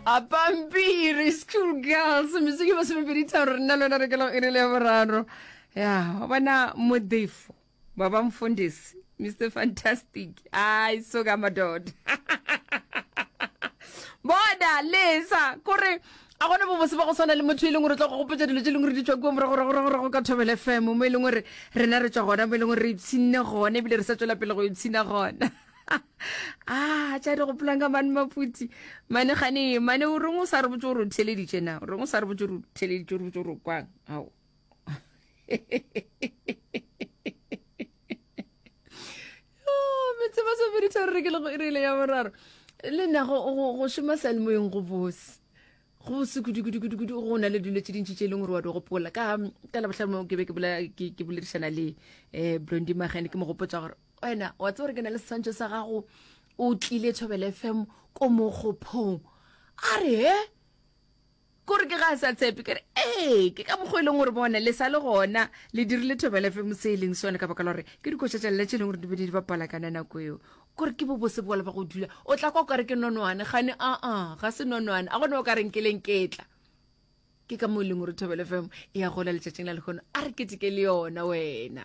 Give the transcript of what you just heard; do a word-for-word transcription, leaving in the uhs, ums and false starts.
A pampiri school girls metsotso ke masomepedi tharo re nna le wena re ke lego iri le ya boraro ya wa bona modefo baba mfundisi mr fantastic ai soka madoda bona lesa kore a gona bobose ba go swana le motho e leng gore o tla go gopotsa dilo tse e leng gore di tswa kua moragoragoragorago ka thobele fm mo e leng gore rena re tswa gona mo e leng gore re ipshinne gona ebile re sa tswela pele go ipshina gona a tša di gopolang ka mane maputi mane gane mane o reng o sa re botse gore o theleditše na o reng o sa re botse gore o theleditše o re botse gore o kwang ao metse masomedi tharo re ke le go irile ya boraro le nna go šoma salemoyeng go bose go bose kudu-kudu-kudu-kudu go na le dilo tse dintši tse e leng gore wa di gopola ka ka labohlano ke be ke boledišana le um blondi magane ke mo gopotsa gore wena wa tse gore ke na le seswantšho sa gago o tlile thobele fm ko mogophong a re he kore ke ga a sa tshepe ke re ee ke ka mokgwa e leng gore bona le sa le gona le dirile thobela fm se e leng sone ka baka la gore ke dikoša tša lela tše e leng gore di be di bapala kana nako eo kore ke bobose bola ba go dula o tla kwa o kare ke nonwane gane aa ga se nonwane a gone o ka reng ke leng ketla ke ka mo e leng gore thobela fm e ya gola letšatšing la lekgono a re keteke le yona wena.